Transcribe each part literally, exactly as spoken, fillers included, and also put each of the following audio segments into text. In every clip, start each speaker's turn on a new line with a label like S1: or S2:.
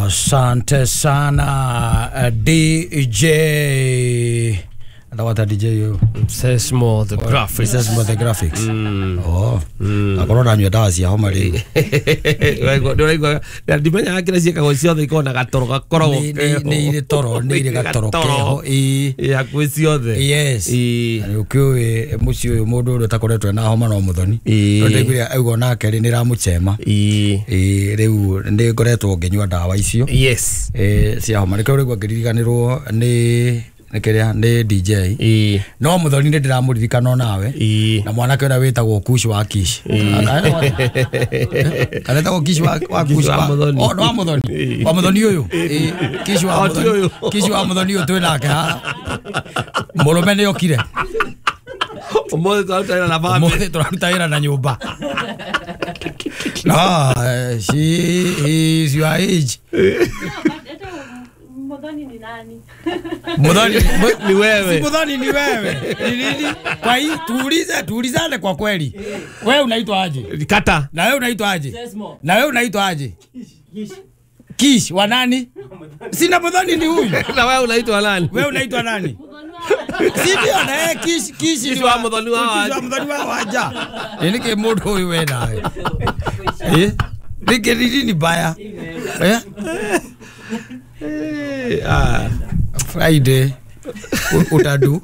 S1: Asante sana D J. Ndawata D J yo.
S2: Sesmo the graphics.
S1: Sesmo the graphics. Mm. Oh. Mm. Akorwo ndanyua ndawa cia homa rĩ.
S2: Ndũraigua ndimenya kĩrĩa ciĩkagwo ciothe ikoragwo na gatoro gakoragwo
S1: keho. Nĩ irĩ toro, nĩ irĩ gatoro keho.
S2: Ĩĩ. Hakuhĩ ciothe.
S1: Yes.
S2: Ĩĩ.
S1: Na ũkĩũĩ mũciĩ ũyũ mũndũ ũrĩa ũtakoretwo na homa no mũthoni.
S2: Ĩĩ.
S1: Ndaiguire auga onake rĩ nĩ ĩramũcema.
S2: Ĩĩ.
S1: Ĩĩ rĩu nĩ ngoretwo ngĩnyua ndawa icio.
S2: Yes.
S1: Ĩĩ cia homa. Nĩkĩo rĩu ngĩririganĩrwo nĩ nĩkĩrĩa nĩ D J.
S2: Ĩĩ.
S1: No mũthoni nĩ ndĩramũririkana onawe.
S2: Ĩĩ.
S1: Na mwanake ũrĩa wĩtagwo Kush wa Kish. Kana wĩtagwo Kish wa wa Kush
S2: wa Mũthoni.
S1: Oh, wa Mũthoni. Wa Mũthoni ũyũ. Ĩĩ. Kish wa Mũthoni. Kish wa Mũthoni ũyũ twĩ nake haha. Mũrũme nĩ okire.
S2: Ũmũthĩ tũraruta wĩra na bamĩrĩ.
S1: Ũmũthĩ tũraruta wĩra na nyũmba. No, she is your age.
S3: Muthoni ni nani?
S1: Muthoni
S2: ni wewe.
S1: Si Muthoni ni wewe. Ni nini? Kwa hii tuulize, tuulizane kwa kweli. Wewe unaitwa aje?
S2: Kata.
S1: Na wewe unaitwa aje? Na wewe unaitwa aje?
S3: Kish.
S1: Kish wa nani? Sina Muthoni ni huyu.
S2: Na wewe unaitwa nani?
S1: Wewe unaitwa nani? Si ndio na yeye Kish Kish
S2: ni wa Muthoni wa
S1: waja. Kish wa Muthoni wa waja. Ni ke mundu huyu we nawe. Eh? Nike nini baya? Eh?
S2: Ah,
S1: Friday utadu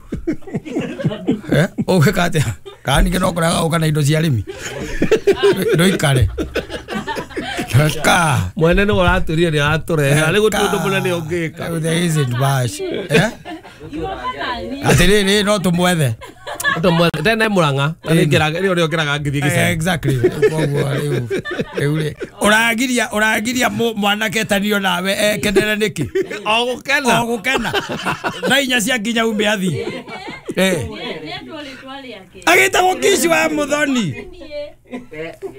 S1: eh ũgĩka atĩa kana ningĩ no kũrega ũka na indo cia arĩmi ndũikare ka
S2: mwene nĩ ũratũria nĩ aratũrehe arĩ gũtirĩ ũndũ mũnene ũngĩka.
S1: There isn't much eh atĩrĩrĩ no tũmwethe
S2: tũmwethe tene Mũrang'a rĩo rĩo ngĩraga ngĩthiĩ gĩcagi.
S1: Exactly koguo rĩu rĩu rĩ ũragiria ũragiria mwanake etanio nawe ekenere nĩkĩ?
S2: O gũkena
S1: o gũkena thaa inya cia nginya ume athiĩ. Eh agĩtagwo Kish wa Mũthoni.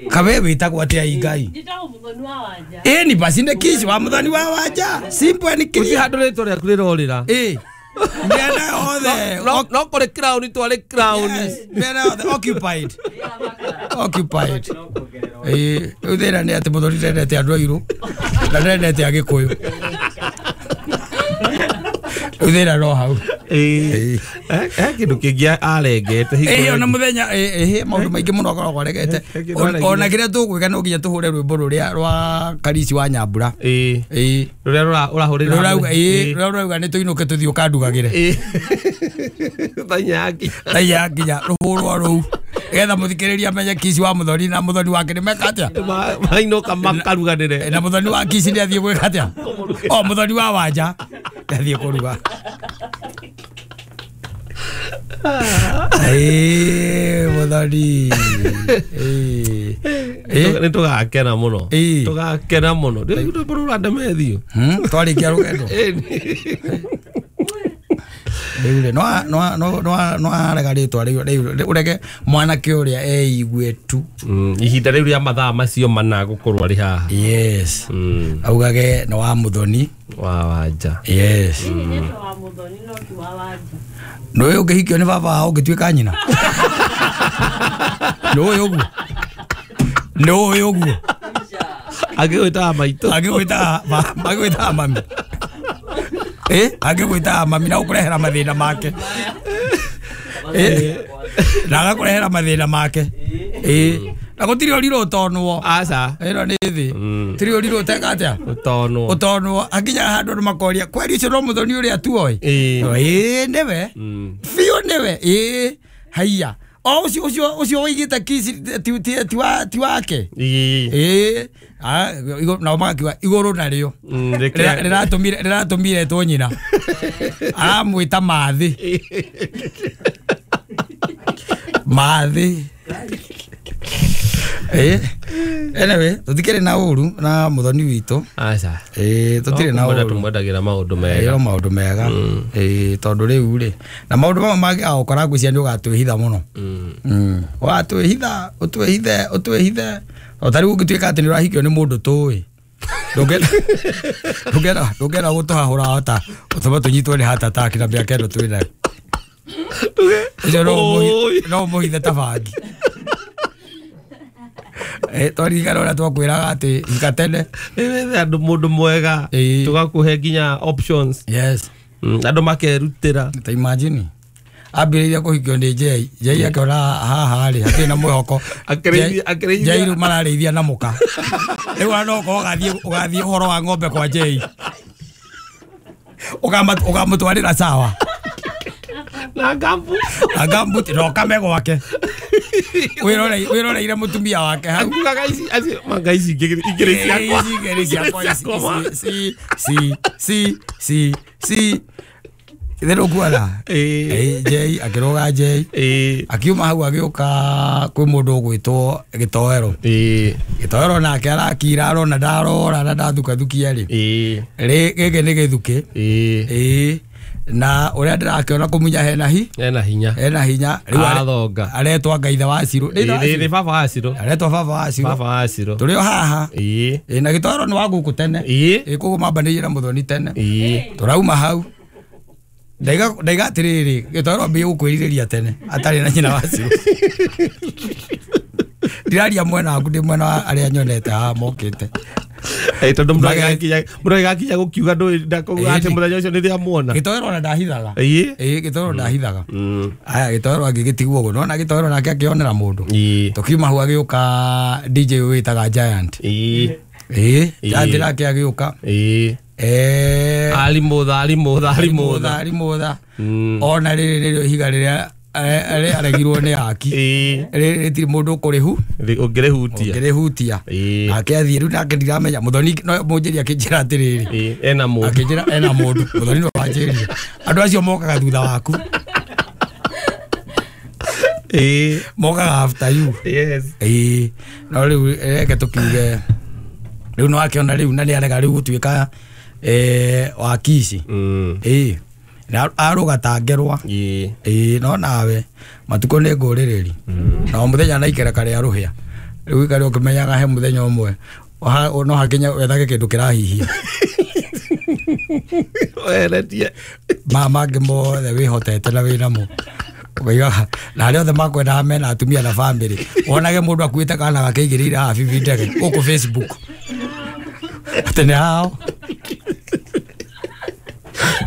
S1: Kawe wĩtagwo atĩa Ngai?
S3: Njĩtagwo Mũthoni wa Wanja.
S1: Ĩni basi nĩ Kish wa Mũthoni wa Wanja. Simple and clear.
S2: Gũtirĩ handũ rĩtwa rĩaku rĩrorĩra.
S1: Ĩĩ. Mĩena yothe.
S2: No no kũrĩ crown twarĩ crown.
S1: Mĩena yothe occupied. Occupied. Ĩĩ rĩu thĩna nĩ atĩ Mũthoni ndendete andũ airũ na ndendete Agĩkũyũ. Rĩu thĩna no hau.
S2: Ĩĩ. He kĩndũ kĩngĩ arengete
S1: hingo. Ĩĩ ona mũthenya ĩĩ maũndũ maingĩ mũno akoragwo aregete. Ona kĩrĩa tũgwĩka no nginya tũhũre rwĩmbo rũrĩa rwa Karisi wa Nyambura.
S2: Ĩĩ.
S1: Ĩĩ.
S2: Rũrĩa ũrahũrĩra.
S1: Rũrauga ĩĩ rũrĩa rũrauga nĩ tũinũke tũthiĩ ũkandugagĩre.
S2: Ĩĩ. Thaa inya yakinya.
S1: Thaa inya yakinya rũhũrwo rũu. Nĩgetha mũthikĩrĩria amenye Kish wa Mũthoni na Mũthoni wake nĩ meka atĩa.
S2: Mainũka makaruganĩre.
S1: Na Mũthoni wa Kish nĩ athiĩ gwĩka atĩa? O Mũthoni wa Wanja nĩ athiĩ kũruga. Ĩĩ Mũthoni. Ĩĩ.
S2: Nĩ tũgakena mũno. Tũgakena mũno. Rĩu rwĩmbo rũrandemethio.
S1: Twarĩkia rũgendo. Rĩu rĩ no no no no arega rĩtwa rĩu rĩu ũrege mwanake ũrĩa eigue tu.
S2: Ihinda rĩu rĩa mathaa macio mana gũkorwo arĩ haha.
S1: Yes. Augage nĩ wa Mũthoni
S2: wa Wanja.
S1: Yes.
S3: Wa Mũthoni no ti wa Wanja.
S1: Nĩũĩ ũngĩhikio nĩ baba wao ũngĩtuĩka nyina. Nĩũĩ ũguo. Nĩũĩ ũguo.
S2: Agĩgwĩtaga maitũ.
S1: Agĩgwĩtaga agĩgwĩtaga mami. Eh agĩgwĩtaga mami na ũkũrehera mathĩna make. Eh na agakũrehera mathĩna make. Eh na gũtirĩ ũrirũ ũtonwo.
S2: Aca.
S1: Ĩno nĩ thĩ. Tirĩ ũrirũ ũteka atĩa?
S2: Ũtonwo.
S1: Ũtonwo. Hakinyaga handũ andũ makoria kweri ũcio no Mũthoni ũrĩa tuoĩ. Ĩĩ nĩwe. Biũ nĩwe. Ĩĩ haiya. O ũcio ũcio ũcio ũigĩte Kish ti ti ti wa ti wake.
S2: Ĩĩ.
S1: Ah nao magakiuga igũrũ narĩo. Rĩratũmire rĩratũmire etwo nyina. Aramwĩta Mathĩ. Mathĩ. Eh anyway tũtikĩrĩ na ũru na Mũthoni witũ.
S2: Aca.
S1: Ĩĩ tũtirĩ na ũru.
S2: Tũmwendagĩra maũndũ mega.
S1: Ĩĩ maũndũ mega. Ĩĩ tondũ rĩu rĩ na maũndũ mamwe mangĩ agũkora ngwĩciria nĩ ũgatwĩhitha mũno. Mm. Ũgatwĩhitha ũtwĩhithe ũtwĩhithe. O ta rĩu ũngĩtuĩka atĩ nĩ ũrahikio nĩ mũndũ tũĩ. Ndũngĩenda ndũngĩenda ndũngĩenda gũtũhahũra hota ũtũme tũnyitwo nĩ heart attack na mĩaka ĩno twĩ nayo. Ũcio no ũmũhithe ta bangi. Eh twaririkana ũrĩa twakwĩraga atĩ hika tene.
S2: Wethe andũ mũndũ mwega
S1: Ĩĩ.
S2: tũgakũhe nginya options.
S1: Yes.
S2: Mm, andũ makerutĩra.
S1: Ta imagine ambĩrĩirie kũhikio nĩ Jay. Jay akĩona haha rĩ hatirĩ na mwĩhoko.
S2: Akĩrĩithia- akĩrĩithia-
S1: Jay rĩu mararĩithia na mũka. Rĩu ona no ũkorwo ũgathiĩ ũgathiĩ ũhoro wa ng'ombe kwa Jay. Ũkama- ũkamũtwarĩra sawa.
S2: Na ngambu.
S1: Agambuti no kame gwake. Wĩroreire wĩroreire mũtumia wake hau.
S2: Akiugaga ici acio manga ici ingĩ igĩrĩ ciakwa.
S1: Ici igĩrĩ ciakwa ici ici ci ci ci ci ithe ndũkuona.
S2: Ĩĩ.
S1: Ĩĩ, Jay akĩrũga Jay.
S2: Ĩĩ.
S1: Akiuma hau agĩũka kwĩ mũndũ ũgwĩtwo Gĩtoero.
S2: Ĩĩ.
S1: Gĩtoero nake arakira arona ndarora na ndathukathukia rĩ.
S2: Ĩĩ.
S1: Rĩ gĩkĩ nĩ gĩthukĩ.
S2: Ĩĩ.
S1: Ĩĩ. Na ũrĩa ndĩrakĩona kũmunya hena hi
S2: Ena hinya.
S1: hena hinya. Rĩu are-
S2: Athonga.
S1: aretwa Ngaithe wa Cirũ. Nĩ ithe wa
S2: Ĩĩ, nĩ
S1: Cirũ?
S2: baba wa Cirũ.
S1: Aretwa baba wa Cirũ.
S2: Baba wa Cirũ.
S1: Tũrĩ o haha.
S2: Ĩĩ.
S1: Ĩĩ, na Gĩtoero nĩ wa gũkũ tene.
S2: Ĩĩ.
S1: Ĩĩ, koguo mambanĩirie na Mũthoni tene.
S2: Ĩĩ.
S1: Tũrauma hau. Ndaiga ndaiga atĩrĩrĩ, Gĩtoero ambĩrĩrie gũkwĩrirĩria tene atarĩ na nyina wa Cirũ. Ndiraria mwena waku, ndĩ mwena wa arĩa nyonete haha mokĩte.
S2: Ĩĩ, tondũ mũndũ
S1: Mage-
S2: agĩgakinya mũndũ agĩgakinya gũkiuga ndũĩ ndakauga atĩ
S1: Ĩĩ.
S2: mũthenya ũcio nĩndĩamuona.
S1: Gĩtoero ona ndahithaga.
S2: Ĩĩ.
S1: Ĩĩ, Gĩtoero ndahithaga.
S2: Mm.
S1: Aya, Gĩtoero agĩgĩtigwo ũguo. Nĩwona Gĩtoero nake akĩonera mũndũ.
S2: Ĩĩ.
S1: Tũkiuma hau agĩũka D J ũyũ wĩtaga Giant.
S2: Ĩĩ.
S1: Ĩĩ,
S2: Ĩĩ.
S1: Giant nake agĩũka.
S2: Ĩĩ.
S1: Eh,
S2: Arimũtha arimũtha arimũtha.
S1: arimũtha.
S2: Mm.
S1: Ona rĩrĩ nĩrĩo ihiga rĩrĩa eh, aregirwo nĩ aki.
S2: Ĩĩ.
S1: Rĩrĩ rĩtirĩ mũndũ ũkũrĩhu
S2: Ũngĩrĩhutia.
S1: ũngĩrĩhutia.
S2: Ĩĩ.
S1: Nake athiĩ rĩu nake ndiramenya Mũthoni no mũnjĩri akĩnjĩra atĩrĩrĩ.
S2: Ĩĩ, ena mũndũ.
S1: Akĩnjĩra ena mũndũ. Mũthoni no wanjĩrire. Andũ acio mokaga thutha waku.
S2: Ĩĩ.
S1: Mokaga after you.
S2: Yes.
S1: Ĩĩ. No rĩu reke tũkiuge rĩu no akĩona rĩu na nĩarega rĩu gũtuĩka eh wakici.
S2: Mm.
S1: Ĩĩ. Na arũga ta ngerwa.
S2: Ĩĩ.
S1: Ĩĩ, no nawe matukũ nĩ ngũrĩrĩri. Na o mũthenya na ikereka rĩa rũhĩa. Rĩu ikare ũkĩmenyaga he mũthenya ũmwe Oha- no hakinya wethage kĩndũ kĩrahihia.
S2: Weretie.
S1: Ma mangĩ mothe wĩhotete na wĩnamo. Ũkaigaga na arĩa othe makwendaga mena atumia na bamĩrĩ. Wonage mũndũ akuĩte kana gakĩigĩrĩire haha bibi ndege gũkũ Facebook. Atĩ nĩ hao.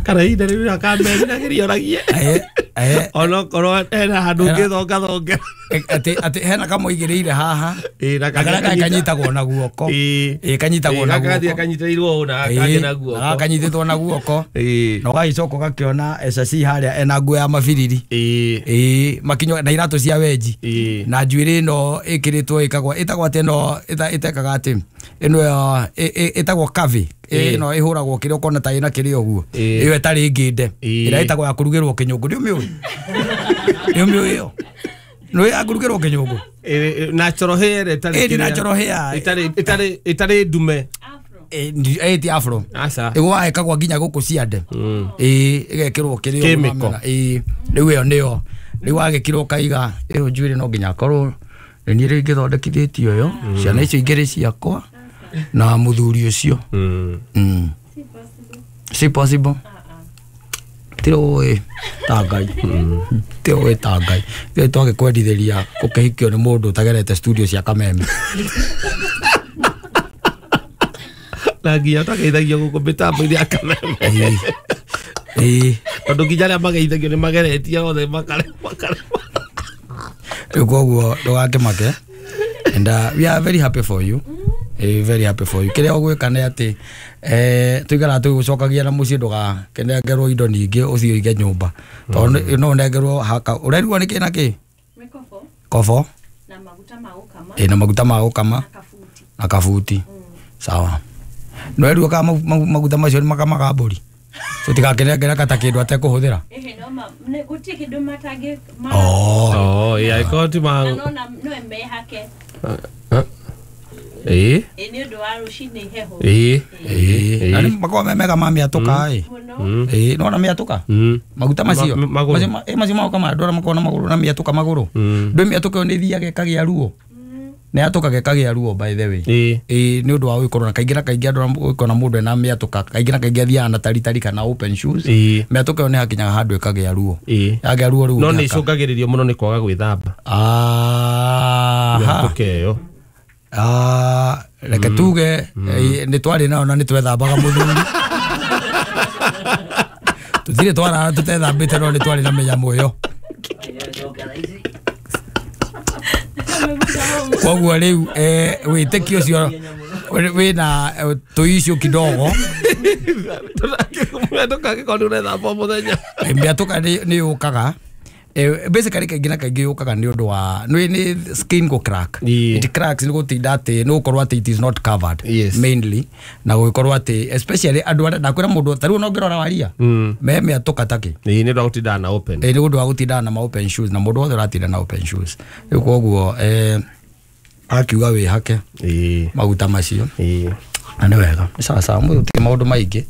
S2: Kana ihinda rĩu rĩakameriragĩria oragie.
S1: Eh, eh,
S2: Onokorwo hena handũ ũngĩthongathonga.
S1: atĩ atĩ hena kamũigĩrĩire haha.
S2: Ĩĩ, na
S1: Na karĩa
S2: kangĩ
S1: kanyitagwo na guoko.
S2: Ĩĩ.
S1: Ĩĩ, kanyitagwo na
S2: Ĩĩ, gaka
S1: guoko.
S2: kanyitĩrĩirwo ũũ na gaka kangĩ na guoko.
S1: Gaka kanyitĩtwo na guoko.
S2: Ĩĩ.
S1: Na ũgagĩcoka ũgakĩona S C harĩa ena nguo ya mabiriri.
S2: Ĩĩ.
S1: Ĩĩ, makinyo na iratũ cia wenji.
S2: Ĩĩ.
S1: Na njuĩrĩ ĩno ĩkĩrĩtwo ĩkagwo ĩtagwo atĩ ĩno ĩta- ĩtekaga atĩ ĩno ya- ĩ- ĩ- ĩtagwo kavi.
S2: Ĩĩ.
S1: Ĩno ĩhũragwo kĩrĩa ũkona ta ĩna kĩrĩa ũguo.
S2: Ĩĩ.
S1: Ĩyo ĩtarĩ ngĩnde.
S2: Ĩĩ.
S1: Ĩrĩa ĩtagwo ya kũrugĩrwo kĩnyũngũ. Nĩũmĩũĩ? Nĩũmĩũĩ ĩyo? Nĩũĩ ya kũrugĩrwo kĩnyũngũ?
S2: Ĩĩ, ĩ, natural hair ĩtarĩ
S1: Ĩĩ,
S2: kĩrĩa-
S1: natural hair.
S2: ĩtarĩ ĩtarĩ ĩtarĩ ndume.
S3: Afro.
S1: Ĩĩ, ndi- ĩĩ, ti afro.
S2: Aca.
S1: Ĩgũa ĩkagwo nginya gũkũ ciande.
S2: Mm.
S1: Ĩĩ, ĩgekĩrwo kĩrĩa ũguo
S2: Chemical.
S1: wamera. Ĩĩ, rĩu ĩyo nĩyo. Rĩu wagĩkĩrwo ũkaiga ĩyo njuĩrĩ no nginya akorwo nĩ niĩ rĩngĩ thondekithĩtie ũyũ. Ciana icio igĩrĩ ciakwa na mũthuri ũcio.
S2: Mm.
S1: Mm.
S3: Si possible.
S1: Si possible.
S3: Ah ah.
S1: Tiũĩ ta Ngai. Tiũĩ ta Ngai. Tiũĩ twagĩkwendithĩria gũkĩhikio nĩ mũndũ ũtagerete studio cia Kameme.
S2: Na nginya twageithagio gũkũ mĩtambo-inĩ ya Kameme.
S1: Ĩĩ. Ĩĩ.
S2: Tondũ nginya arĩa mageithagio nĩ mageretie othe makare makare.
S1: Rĩu koguo ndũgakĩmake. And uh, we are very happy for you. Eh, very happy for you. Kĩrĩa ũgwĩka nĩ atĩ eh tũikaraga tũgĩgũcokagia na mũciĩ ndũgakĩnengerwo indo nyingĩ ũthiĩ ũige nyũmba. Tondũ no ũnengerwo haka. Ũrerigwo nĩ kĩ na kĩ?
S3: Mĩkobo
S1: Kobo.
S3: na maguta ma gũkama
S1: Ĩ, na maguta ma gũkama
S3: na kabuti.
S1: na kabuti. Sawa. Nĩwerigwo kana mau- mau- maguta macio nĩ makamaga mbũri. Tũtigakĩnengere kata kĩndũ atekũhũthĩra.
S3: Ehe, no ma nĩ gũtirĩ kĩndũ matangĩ ma
S1: Oh.
S2: Oh, ĩĩ, angĩkorwo ti ma
S3: na no na no mehake.
S2: Ĩĩ.
S3: Ĩ nĩ ũndũ wa rũcinĩ heho.
S2: Ĩĩ.
S1: Ĩĩ. Na nĩ makoragwo me mega ma mĩatũka ĩ.
S3: Mũno.
S1: Ĩĩ, nĩwona mĩatũka?
S2: Mm.
S1: Maguta macio.
S2: Ma- magũrũ.
S1: Macio ma- ĩ, macio ma gũkama andũ arĩa makoragwo na magũrũ na mĩatũka magũrũ.
S2: Mm.
S1: Ndũĩ mĩatũka ĩyo nĩ ĩthiaga ĩkagĩa ruo. Nĩ yatũkaga ĩkagĩa ruo by the way.
S2: Ĩĩ.
S1: Ĩĩ, nĩ ũndũ wa gũkorwo na kaingĩ na kaingĩ andũ arĩa gũkorwo na mũndũ ena mĩatũka kaingĩ na kaingĩ athiaga na taritari kana open shoes.
S2: Ĩĩ.
S1: Mĩatũka ĩyo nĩ hakinyaga handũ ĩkagĩa ruo.
S2: Ĩĩ.
S1: Yagĩa ruo rĩu
S2: No nĩ
S1: ũngĩhaka.
S2: icũngagĩrĩrio mũno nĩ kwaga gwĩthamba.
S1: Aha.
S2: Mĩatũka ĩyo.
S1: Ah, reke tuge eh, nĩ twarĩ nao na nĩ twethambaga mũthuri tũtirĩ twarara tũtethambĩte no nĩ twarĩ na mĩnyamũ ĩyo. Koguo rĩu eh, wĩtĩkio ũcio wĩna eh, tũicio kidogo.
S2: Ndũkangĩkorwo nĩ ũrethamba o mũthenya.
S1: Mĩatũka nĩ yũkaga. Eh, basically kaingĩ na kaingĩ yũkaga nĩ ũndũ wa nĩ nĩ skin go crack.
S2: Ĩĩ.
S1: It cracks nĩ gũtinda atĩ nĩ gũkorwo atĩ it is not covered.
S2: Yes.
S1: Mainly na gũgĩkorwo atĩ especially andũ arĩa ndakwĩra mũndũ ta rĩu ona ũngĩrora waria
S2: Mm.
S1: me mĩatũka takĩ.
S2: Ĩĩ, nĩ ũndũ wa gũtindaga na open.
S1: Ĩ, nĩ ũndũ wa gũtindaga na ma open shoes na mũndũ wothe ũratinda na open shoes rĩu koguo eh, akiuga wĩhake
S2: Ĩĩ.
S1: maguta macio.
S2: Ĩĩ.
S1: Na nĩ wega nĩ sawa sawa mũthĩ gũtirĩ maũndũ maingĩ.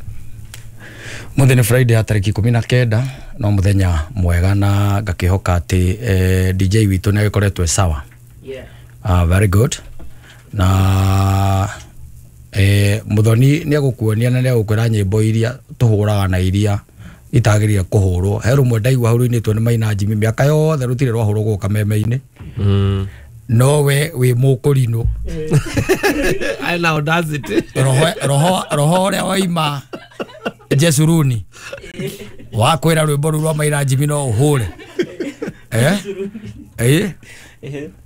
S1: Mũthĩ nĩ Friday ya tarĩki ikũmi na kenda no mũthenya mwega na ngakĩhoka atĩ eh, D J witũ nĩ agĩkoretwo e sawa.
S4: Yeah.
S1: Ah, very good. Na eh, Muthoni nĩ egũkuonia na nĩ egũkwĩra nyĩmbo iria tũhũraga na iria itagĩrĩire kũhũrwo. He rũmwe ndaigua hau rũinĩtwo nĩ Maina Jimmy mĩaka yothe rũtirĩ rwahũrwo gũkũ kameme-inĩ.
S2: Mm.
S1: No we wĩ mũkũrinũ.
S2: Ena audacity.
S1: Roho roho roho ũrĩa waima Jesuruni wakwĩra rwĩmbo rũu rwa Maina Jimmy no ũhũre. Eh? Eh?